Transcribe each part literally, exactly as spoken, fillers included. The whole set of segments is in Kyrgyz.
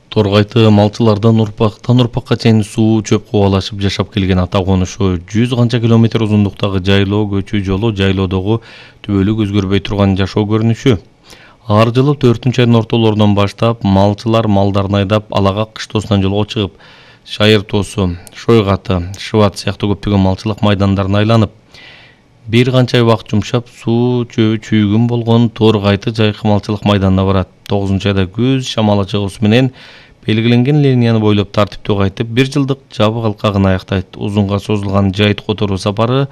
Торгайты малчылардан урпактан урпакка чейин суу чөп кубалашып жашап келген ата конушу жүз канча километр узундуктагы жайлоо көчүү жолу жайлоодогу түбөлүк өзгөрбөй турган жашоо көрүнүшү. Ар жылы төртүнчү айдын ортолорунан баштап малчылар малдарын айдап Алага кыштоосунан жолго чыгып, Шайыр тоосу, Шойгаты, Шыбат сыяктуу көптөгөн малчылык майдандарын айланып, бир канча ай убакыт жумшап суу чөбү чүйгүн болгон Торгайты жайкы малчылык майданына барат. тогузунчу айда күз шамалы чыгуусу менен белгиленген линияны бойлоп тартиптүү кайтып, бир жылдык жабык алкагын аяктайт. Узунга созулган жайыт которуу сапары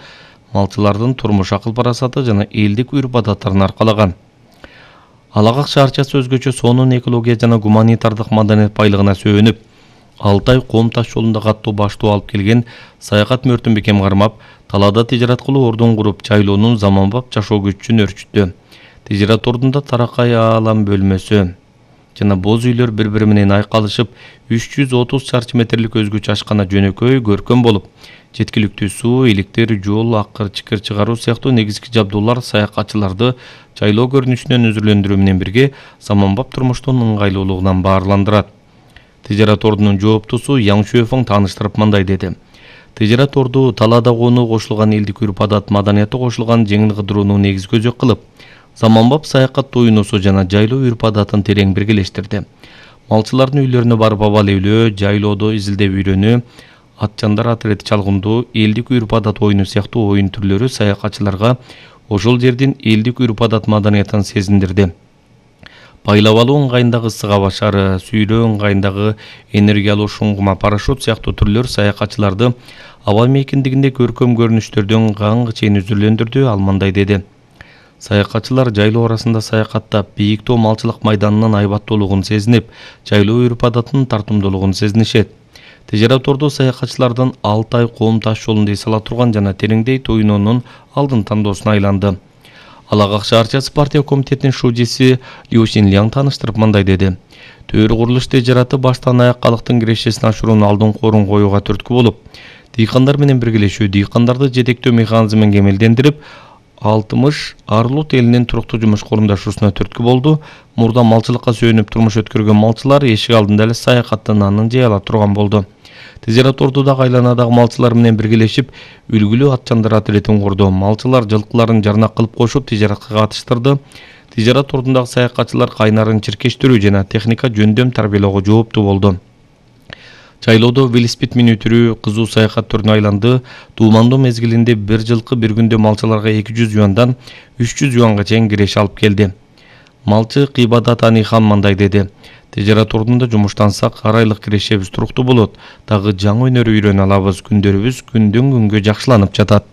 малчылардын турмуш акыл парасаты жана элдик үрп адаттарын аркалаган. Алагак шаарчасы өзгөчө сонун экология жана гуманитардык маданият байлыгына сөөнүп, алты ай Ком таш жолунда каттуу баштоо алып келген саякат мөртүн бекем кармап, талаада тижарат кылуу ордун куруп, жайлоонун заманбап жашоо күчүн өрчүттү. Тижарат ордунда таракай аалам бөлмөсү жана боз үйлөр бири-бири менен айкалышып, үч жүз отуз чарчы метрлик өзгөчө ашкана жөнөкөй көркөм болуп, жеткиликтүү суу, электр, жол, акыр чыкыр чыгаруу сыяктуу негизги жабдуулар саякатчыларды жайлоо көрүнүшүнөн үзүрлөндүрүү менен бирге заманбап турмуштун ыңгайлуулугунан баарландырат. Тижарат ордунун жооптусу Яң Шуэфең тааныштырып мындай деди: Тижарат орду талаада конуу кошулган элдик үрп адат маданияты кошулган жеңил кыдырууну негиз көзөк кылып, заманбап саякат туюнусу жана жайлоо үрп адатын терең биргелештирди. Малчылардын үйлөрүнө барып абал-үйлөө, жайлоодо изилдеп үйрөнүү, атчандар атрети чалгындуу, элдик үрп адат оюну сыяктуу оюн түрлөрү саякатчыларга ошол жердин элдик үрп адат маданиятын сезиндирди. Байлап алуу ыңгайындагы сыга башары, сүйрөө ыңгайындагы энергиялуу шуңгума парашют сыяктуу түрлөр саякатчыларды аба мейкиндигинде көркөм көрүнүштөрдөн каңгы чейин үзүрлөндүрдү. Ал мындай деди: Саякатчылар жайлоо арасында саякаттап, бийиктөө малчылык майданынын айбаттуулугун сезинип, жайлоо үрп адатынын тартымдуулугун сезинишет. Тижарат орду саякатчылардын алты ай Ком таш жолунда эс ала турган жана тереңдей тоюнуунун алдын тандоосуна айланды. Алагак шаарчасы партия комитетинин шужиси Лю Шинляң тааныштырып мындай деди: Төр курулуш тижараты баштан аяк калктын кирешесин ашыруунун алдын корун коюуга түрткү болуп, дыйкандар менен биргелешүү, дыйкандарды жетектөө механизмин кемелдендирип, алтымыш Арлут элинин туруктуу жумуш коомдашуусуна түрткү болду. Мурда малчылыкка сүйөнүп турмуш өткөргөн малчылар эшик алдында эле саякаттын анын жей ала турган болду. Тижарат ордудагы айланадагы малчылар менен биргелешип, үлгүлүү атчандар атретин курду. Малчылар жылкыларын жарнак кылып кошуп, тижаратка катыштырды. Тижарат ордундагы саякатчылар кайнарын чиркештирүү жана техника жөндөм тарбиялоого жооптуу болду. Жайлоодо велосипед минүтүрүү кызуу саякат түрүнө айланды. Туумандуу мезгилинде бир жылкы бир күндө малчыларга эки жүз юандан үч жүз юанга чейин киреше алып келди. Малчы Кыйбадат Анихан мындай деди: Тижарат ордунда жумуштансак, ар айлык кирешебиз туруктуу болот. Дагы жаңы өнөр үйрөнө алабыз. Күндөрүбүз күндөн күнгө жакшыланып жатат.